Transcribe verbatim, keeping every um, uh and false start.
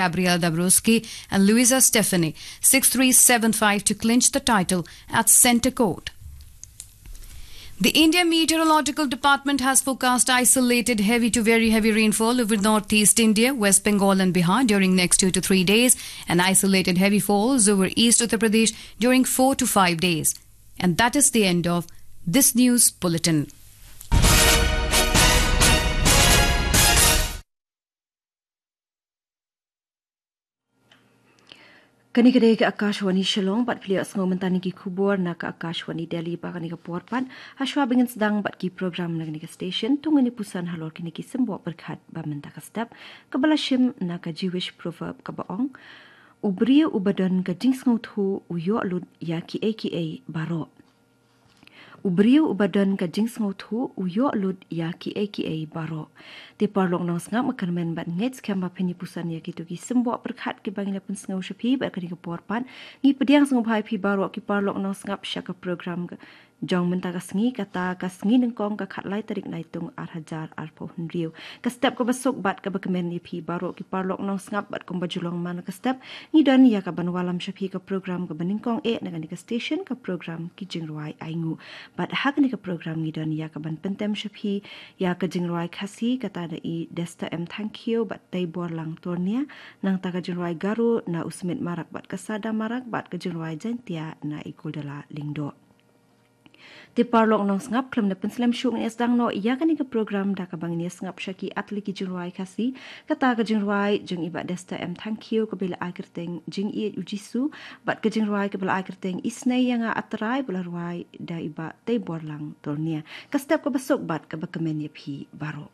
Gabriel Dabrowski and Luisa Stefani, six three seven five, to clinch the title at Centre Court. The India Meteorological Department has forecast isolated heavy to very heavy rainfall over northeast India, West Bengal and Bihar during next two to three days, and isolated heavy falls over East Uttar Pradesh during four to five days. And that is the end of this news bulletin. Kane ka dei ka Akashvani Shillong, bad phi ïohsngew mynta ki khubor na ka Akashvani Delhi. Bad kane ka por pat, hashwa ba ngin sdang bad ki program na kane ka station, to ngin ïa puson halor kine ki symboh pyrkhat ba mynta ka step, kaba la shim na ka Jewish proverb kaba ong: U briew uba don ka jingsngewthuh u ïoh lut ïa kiei kiei baroh. U briew uba don ka jingsngewthuh u ïoh lut ïa kiei kiei baroh. Te paralok nongsngap, nga kyrmen bad ngeit skhem ba phin ïa puson ïa kito ki symboh pyrkhat kiba ngi la pynsngew sha phi. Bad kane ka por pat, ngi pdiang sngewbha ïa phi baroh ki paralok nongsngap sha ka program ka jong mynta ka sngi, kata ka sngi nyngkong, ka khatlai tarik Naitung ar hajar arphew hynriew. Ka step kaba suk bad kaba kmen ïa phi baroh ki paralok nongsngap, bad kumba ju long man la ka step, ngi don ïa kaban wallam sha phi ka program kaba nyngkong eh na kane ka station, ka program Ki Jingrwai Ainguh. Bad ha kane ka program ngi don ïa kaban pyntem sha phi ïa ka jingrwai Khasi, kata da i Desta M Thangkhiew bad Teiborlang Turnia, nangta ka jingrwai Garo na u Smit Marak bad ka Sada Marak, bad ka jingrwai Jaintia na i Kuldala Lyngdoh. Te paralok nongsngap, khlem da pynslem shuh, ngin ïa sdang noh ïa kane ka program da kaba ngin ïa sngap sha ki artylli ki jingrwai Khasi, kata ka jingrwai jong i Bah Desta M Thangkhiew kaba la ai kyrteng Jingïeit U Jisu, bad ka jingrwai kaba la ai kyrteng Isynei ïa nga A Trai, ba la rwai da i Bah Teiborlang Turnia. Ka step kaba suk bad kaba kmen ïa phi baroh.